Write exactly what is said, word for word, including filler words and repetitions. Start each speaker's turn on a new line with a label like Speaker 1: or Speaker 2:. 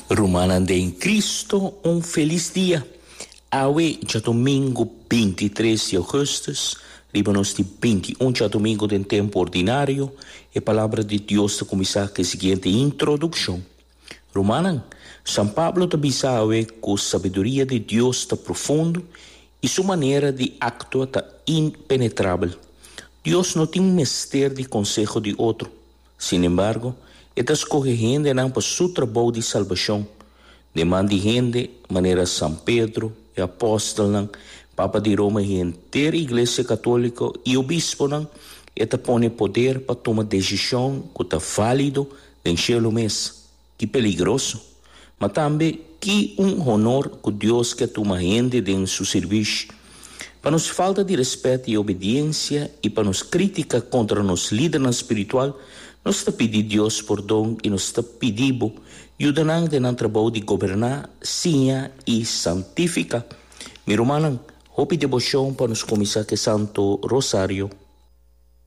Speaker 1: Rumannan den Cristo, un felis dia. Awe djadumingu binti i tres di ougùstùs, riba nos di binti i un djadumingu den tempu ordinario, e Palabra di Dios ta kuminsá ku e siguiente introdukshon. Rumannan, San Pablo ta bisa awe ku sabiduria di Dios ta profundo i su manera di aktua ta impenetrabel. Dios no tin mester di konseho di otro. Sin embargo, e ta skohe hendenan pa su trabou di salbashon. Den man di hende manera San Pedro, e apòstelnan, Papa di Roma i henter Iglesia Katóliko i obisponan, e ta pone poder pa tuma desishon ku ta válido den shelu mes. Ki peligroso! Ma tambe ki un honor ku Dios ke tuma hende den su sirbishi. Pa nos falta di rèspèt i obediensia i pa nos krítika kontra nos lidernan spiritual, nos ta pidi Dios pordon i nos ta pidi bo yuda nan den nan trabou di goberná, siña i santifiká. Mi rumannan, hopi deboshon pa nos kuminsá ku e Santo Rosario.